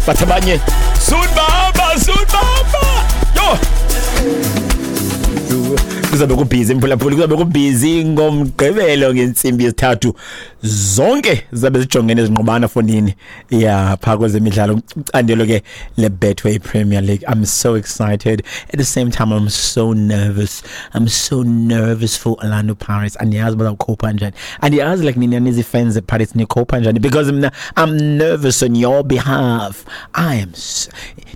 Bathi abanye sunbaba, sunbaba. Yo. Kuzabe kubhizi, mphulaphuli, kuzabe kubhizi ngoMgqibelo ngentsimbi yesithathu. Zonke zizabe zijongene ezinqubana fonini ya phaa kwezemidlalo, icandelo ke le-Betway Premier League. I'm so excited, at the same time I'm so nervous. I'm so nervous for Orlando Pirates. Andiyazi bazawukhopha njani, andiyazi, like nina nizi-fans ze-Pirates nikhopha njani, because mna I'm nervous on your behalf. I am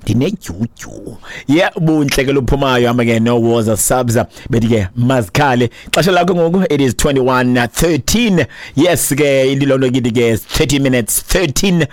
ndinedyudyu. Yeah, bunhle ke luphumayo, hamba ke no woza subs bethi ke mazikhale. Xesha lakho ngoku, it is 21:13. Yes ke, ililonto kithi ke 30 minutes 13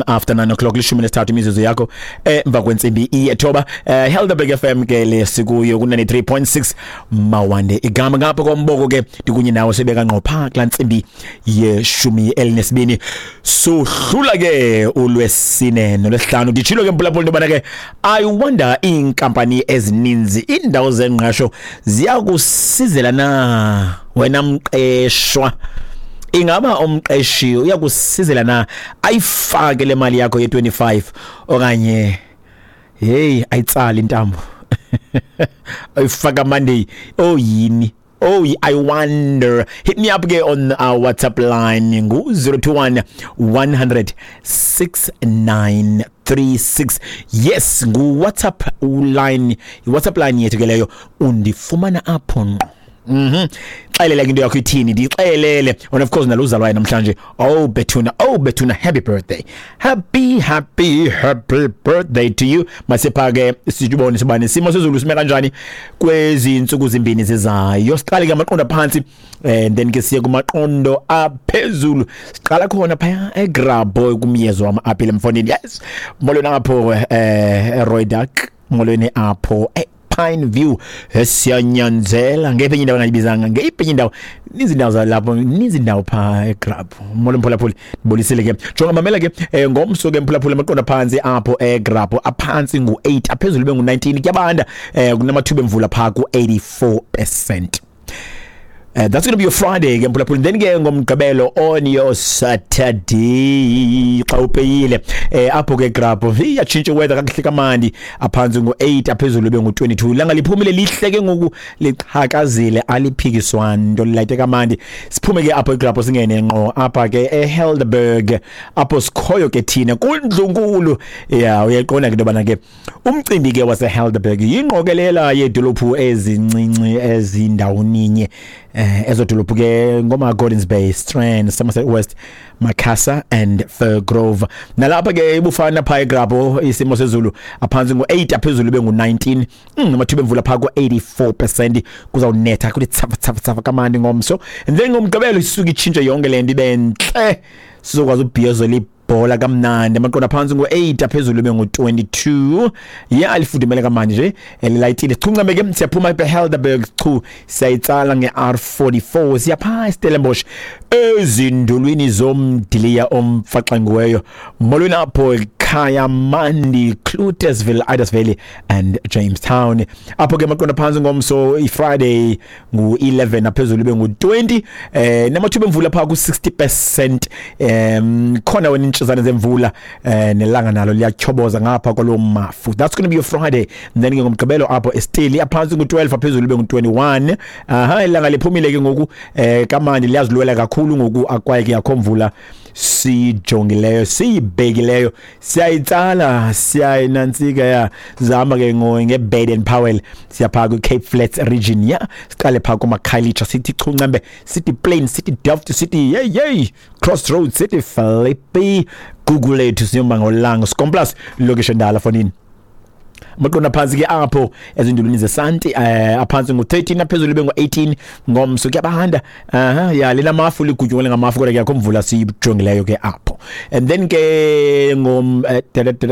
after 9 o'clock, 13 imizuzu yakho emva kwentsimbi iyethoba. Helderberg FM ke lesikuyo ku 93.6. Mawande igama ngapha komboko ke, ndikunye nawe sibeka ngqo phaa kulaa ntsimbi ye-12. Sohlula ke uLwesine noLwesihlanu. Nditshilo ke, mphulaphula, into yobana ke I wonder iinkampani ezininzi, iindawo zengqesho, ziyakusizela na wena mqeshwa. Ingaba umqeshi uyakusizela na, ayifake le mali yakho ye-25, okanye hey, ayitsali intambo, ayifaka Monday? Oh yini? Oh, I wonder. Hit me up ke on our WhatsApp line ngu 021 100 6936. Yes, ngu WhatsApp line, WhatsApp line yethu ke leyo, undifumana apho ngqo. Xelela ke into yakho ithini, ndixelele. And of course naluzalwayo namhlanje. Oh bethuna, oh bethuna, happy birthday. Happy, happy, happy birthday to you. Masipha ke sibone sibane simo sezulu sime kanjani kwezi insuku zimbini zizayo. Siqale ke amaqondo phansi and then ke siye kumaqondo aphezulu. Siqala khona phaya eGrabboy kumyezo wama-apile mfondini. Yes. Molweni apho eRooidak, molweni apho Pine View, siyanyanzela ngephi indawo engayibizanga, ngeyiphi indawo, ninzi indawo zalapho, ninzi indawo phaa eGrabbo. Molo mphulaphuli, ndibulisile ke. Jonga, mamela ke, ngomso ke mphulaphuli, amaqondo phantsi apho eGrabbo aphantsi ngu-8, aphezulu bengu-19. Kuyabanda, kunamathuba emvula phaa ku-84%. That's going to be your Friday ke mphulaphuli. Then ke ngoMgqibelo, on your Saturday, xa upeyile apho ke Grabbo, iyatshintsha weather kakuhle kamandi. Aphantsi ngo-8, aphezulu bengu-22. Ilanga liphumile lihle ke ngoku, liqhakazile, aliphikiswa nto, lilayite kamandi. Siphume ke apho eGrabbo, singene ngqo apha ke eHelderberg, apho sikhoyo ke thina kundlunkulu. Ya, uyayiqonda ke into yobana ke umcimbi ke waseHelderberg yingqokelela yeedolophu ezincinci ezindawoninye. Ezo dolophu ke ngoma Gordons Bay, Strand, Somerset West, Macassar and Firgrove. Nalapha ke ibufana phaa eGrabbo isimo sezulu, aphantsi ngo-8, aphezulu bengu-19. Amathuba emvula phaa ku-84%. Kuzawunetha kuthi tsafa tsafa tsafa kamandi ngomso. And then ngoMgqibelo isuke itshintshe yonke le nto, ibe ntle, sizokwazi ubhiyozela ibhola kamnandi. Amaqondo aphantsi ngo-8, aphezulu bengu-22. Ya, lifudumele kamandi nje, elilayitile. Sichuncame ke, siyaphuma eHelderberg chu, siyayitsala nge-R44, siyaphaa eStellenbosch, ezindulwini zomdiliya omfaxangiweyo. Molweni apho ekhaya mandi, Cloetesville, Idas Valley and Jamestown. Apho ke amaqondo phantsi ngomso, iFriday, ngu-11, aphezulu bengu-20, namathuba emvula phaa ku-60%. Khona wena intshizane zemvula, nelanga nalo liyatyhoboza ngapha kwaloo mafu. That's going to be your Friday. And then ke ngoMgqibelo apho eSteli, aphantsi ngu-12, aphezulu bengu-21. Aha, ilanga liphumile ke ngoku kamandi, liyazilwela kakhulu ngoku, akwaye ke akho mvula sijongileyo siyibhekileyo. Siyayitsala, siyayinantsika, ya, zihamba ke nge-Baden Powell, siyaphaa kwi-Cape Flats region. Ya, siqale phaa kumaKhayelitsha, sithi chuncembe, sithi Plain, sithi Delft, sithi hey hey Crossroads, sithi Philippi, Gugulethu, siyomba ngolanga Skomplus, ilokishi endala fonini. Amaqondo aphantsi ke apho ezindulwini zesanti, aphantsi ngu-13, aphezulu bengu-18. Ngomso kuyabanda. Aha, ya, lena mafu ligutyungele ngamafu, kodwa ke akho mvula siyijongileyo ke apho. And then ke ngom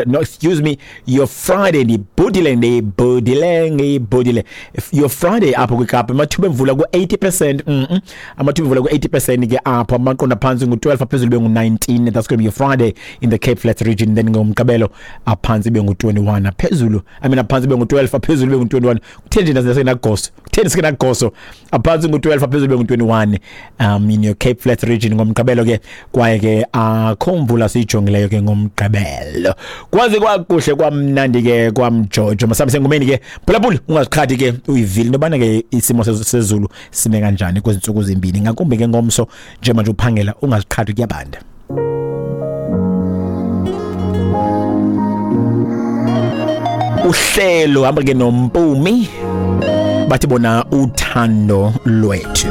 no, excuse me, your Friday, ndibhudile, ndibhudile, ngibhudile. Your Friday apho kwiKapa, amathuba emvula ku-80%. Amathuba emvula ku-80% ke apho. Amaqondo aphantsi ngu-12, aphezulu bengu-19. That's going to be your Friday in the Cape Flats region. Then ngoMgqibelo aphantsi bengu-21, aphezulu. aphezulu, I mean aphantsi bengu-12, aphezulu bengu-21. Kutheni nje nasenagoso? Kutheni sikenagoso? Aphantsi ngu-12, aphezulu bengu-21 in your Cape Flats region ngomgqibelo ke, kwaye ke akho mvula siyijongileyo ke ngomgqibelo. Kwaze kwakuhle kwamnandi ke kwamjojo. Masambe sengomeni ke, phulaphula, ungaziqhathi ke, uyivile into yobana ke isimo sezulu sime kanjani kwezi ntsuku zimbini, ngakumbi ke ngomso njengoba nje uphangela, ungaziqhathi, kuyabanda. Uhlelo hamba ke noMpumi, bathi bona uthando lwethu.